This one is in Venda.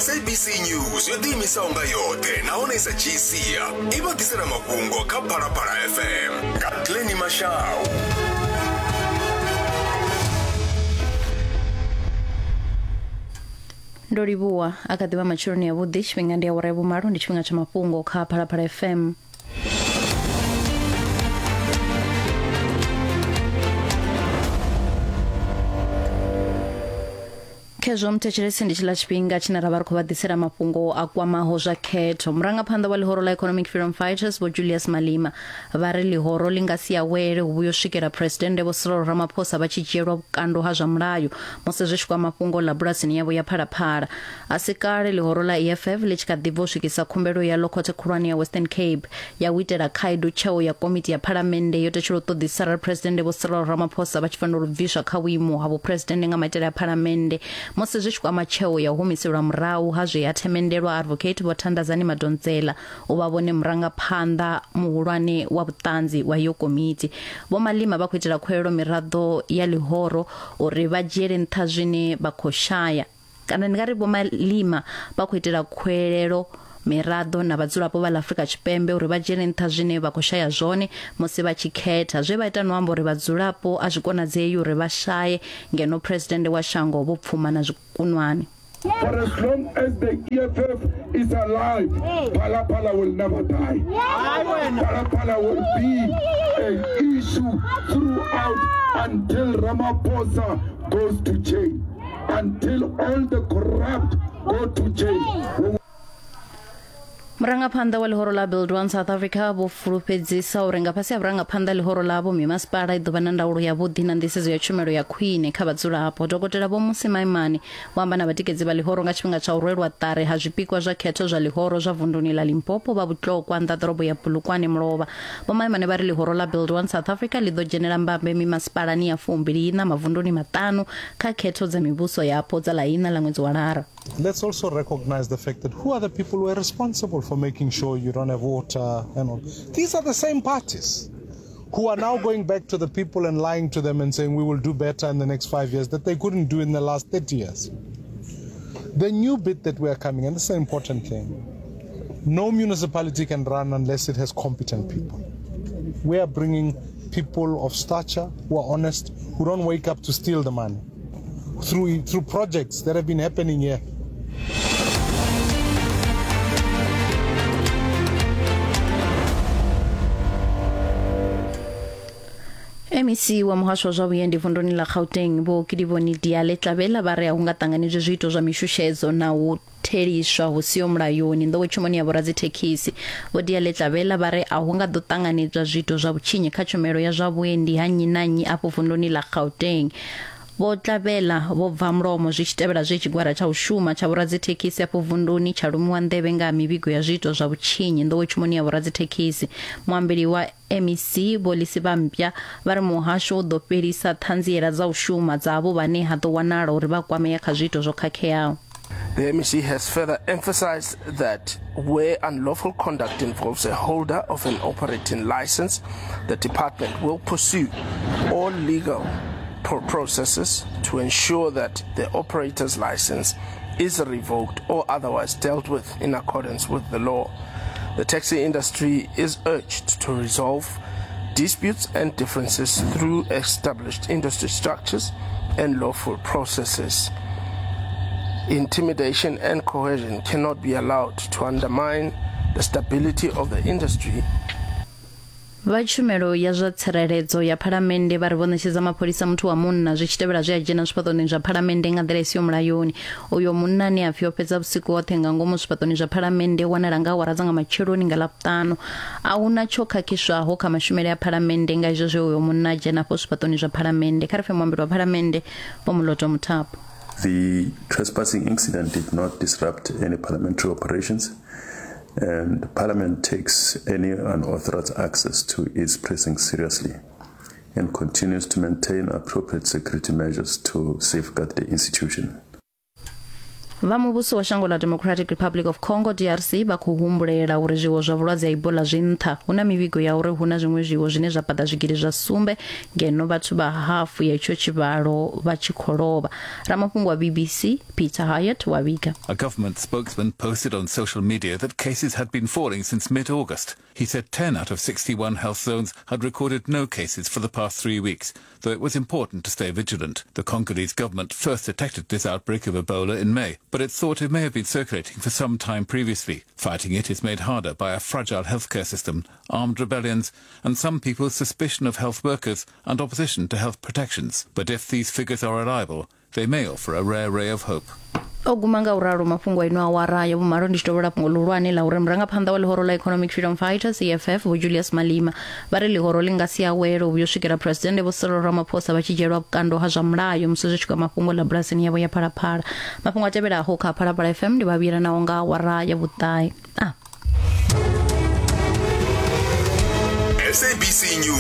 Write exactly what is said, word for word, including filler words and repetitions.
S A B C News yo ḓiimisaho nga yoṱhe nahone i sa dzhii sia i vha ḓisela mafhungo kha Phalaphala F M nga Glenny Mashau. Ndo livhuwa. A kha ḓivha matsheloni avhuḓi. Tshifhinga ndi awara ya vhumalo, ndi tshifhinga tsha mafhungo kha Phalaphala F M. Khezwo muthetshelesi, ndi tshiḽa tshifhinga tshine ra vha ri khou vha ḓisela mafhungo a kwamaho zwa khetho. Murangaphanḓa wa ḽihoro ḽa Economic Freedom Fighters, Vho Julius Malema, vha ri ḽihoro ḽi nga si awele hu vhuyo swikela Phuresidennde Vho Cyril Ramaphosa vha tshi dzhielwa vhukando ha zwa mulayo musi zwi tshi kwama fhungo ḽa bulasini yavho ya Phalaphala. A si kale ḽihoro ḽa E F F ḽi tshi kha ḓi bva u swikisa khumbelo yaḽo khothe khulwane ya Western Cape ya u itela khaedu tsheo ya komiti ya phalamennde yo tetshela u ṱoḓisa arali Phuresidennde Vho Cyril Ramaphosa vha tshi fanela u bviswa kha vhuimo ha vhuphuresidennde nga maitele a phalamennde musi zwi tshi kwama tsheo ya u humiselwa murahu ha zwe ya themendelwa Advocate Vho Thandazani Madonsela u vha vhone murangaphanḓa muhulwane wa vhuṱanzi wa iyo komiti. Vho Malema vha khou itela khuwelelo miraḓo ya ḽihoro uri vha dzhiele nṱha zwine vha khou shaya, kana ndi nga ri Vho Malema vha khou itela khuwelelo miraḓo na vhadzulapo vha ḽa Afrika Tshipembe uri vha dzhiele nṱha zwine vha khou shaya zwone musi vha tshi khetha. Zwe vha ita no amba uri vhadzulapo a zwi konadzei uri vha shaye ngeno presidennde wa shango vho pfuma na zwikunwane. For as long as the E F F is alive, Phala Phala will never die. Phala Phala will be an issue throughout until Ramaphosa goes to jail, until all the corrupt go to jail. We Murangaphanḓa wa ḽihoro ḽa Build One South Africa vho fulufhedzisa uri nga fhasi ha vhurangaphanḓa ḽihoro ḽavho, mimasipala i ḓo vha na ndaulo yavhuḓi na nḓisedzo ya tshumelo ya khwine kha vhadzulapo. Dokotela Vho Mmusi Maimane vho amba na vhatikedzi vha ḽihoro nga tshifhinga tsha u rwelwa ṱari ha zwipikwa zwa khetho zwa ḽihoro zwa vunduni ḽa Limpopo vha Vhutlokwa nnḓa ḓorobo ya Polokwane mulovha. Vho Maimane vha ri ḽihoro ḽa Build One South Africa ḽi ḓo dzhenela mbambe mimasipalani ya fumbili iṋa mavunduni maṱanu kha khetho dza mivhuso yapo dza ḽa iṋa ḽa ṅwedzi wa Lara. Let's also recognize the fact that who are the people who are responsible for making sure you don't have water and all. These are the same parties who are now going back to the people and lying to them and saying we will do better in the next five years that they couldn't do in the last thirty years. The new bit that we are coming, and this is an important thing, no municipality can run unless it has competent people. We are bringing people of stature who are honest, who don't wake up to steal the money through, through projects that have been happening here. M E C wa muhasho wa zwa vhuendi vunduni ḽa Gauteng, Vho Kedibone Diale Tlabela, vha ri a hu nga ṱanganedzwi zwiito zwa mishushedzo na u theliswa hu siho mulayoni nḓowetshumoni ya vhoradzithekhisi. Vho Diale Tlabela vha ri a hu nga ḓo ṱanganedzwa zwiito zwa vhutshinyi kha tshumelo ya zwa vhuendi ha nnyi na nnyi afho vunduni ḽa Gauteng. Vho Tlabela vho bva mulomo zwi tshi tevhela zwe tshigwada tsha u shuma tsha vhoradzithekhisi afho vunduni tsha lumiwa nḓevhe nga ha mivhigo ya zwiito zwa vhutshinyi nḓowetshumoni ya vhoradzithekhisi. Muambeli wa M E C, Vho Lisiba Mpya, vha ri muhasho u ḓo fhelisa ṱhanziela dza u shuma dza avho vhane ha ḓo wanala uri vha kwamea kha zwiito zwo khakheaho. The M E C has further emphasized that where unlawful conduct involves a holder of an operating license, the department will pursue all legal pro- processes to ensure that the operator's license is revoked or otherwise dealt with in accordance with the law. The taxi industry is urged to resolve disputes and differences through established industry structures and lawful processes. Intimidation and coercion cannot be allowed to undermine the stability of the industry. Vha tshumelo ya zwa tsireledzo ya phalamennde vha ri vho ṋetshedza mapholisa muthu wa munna zwi tshi tevhela zwe a dzhena zwifhaṱoni zwa phalamennde nga nḓila i siho mulayoni. Uyo munna ane a pfi o fhedza vhusiku hoṱhe nga ngomu zwifhaṱoni zwa phalamennde wanala nga awara dza nga matsheloni nga Ḽavhuṱanu. A huna tsho khakhiswaho kha mashumele a phalamennde nga izwo zwe uyo munna a dzhena afho zwifhaṱoni zwa phalamennde. Kha ri pfe muambeli wa phalamennde, Vho Moloto Mothapo. The trespassing incident did not disrupt any parliamentary operations, and Parliament takes any unauthorized access to its precincts seriously and continues to maintain appropriate security measures to safeguard the institution. Vha muvhuso wa shango ḽa Democratic Republic of Congo D R C vha khou humbulela uri zwiwo zwa vhulwadze ha Ebola zwi nṱha. Hu na mivhigo ya uri hu na zwiṅwe zwiwo zwine zwa paḓa zwigidi zwa sumbe ngeno vhathu vha hafu ya itsho tshivhalo vha tshi khou lovha. Ramafhungo wa B B C Peter Hyatt wa vhiga. A government spokesman posted on social media that cases had been falling since mid-August. He said ten out of sixty-one health zones had recorded no cases for the past three weeks, though it was important to stay vigilant. The Congolese government first detected this outbreak of Ebola in May, but it's thought it may have been circulating for some time previously. Fighting it is made harder by a fragile healthcare system, armed rebellions, and some people's suspicion of health workers and opposition to health protections. But if these figures are reliable, they may offer a rare ray of hope. O guma nga uralo mafhungo ino awara ya vhumalo. Ndi tshi tovhola fhungo ḽihulwane ḽa uri murangaphanḓa wa ḽihoro ḽa Economic Freedom Fighters E F F Vho Julius Malema vha ri ḽihoro ḽi nga si awele u vhuya u swikela Presidennde Vho Cyril Ramaphosa vha tshi dzhielwa vhukando ha zwa mulayo musi zwi tshi kwama fhungo ḽa bulasini yavho ya Phalaphala. Mafhungo a tevhelaho kha Phalaphala F M ndi vha vhuyela nao nga awara ya vhuṱahe. Ah. S A B C News.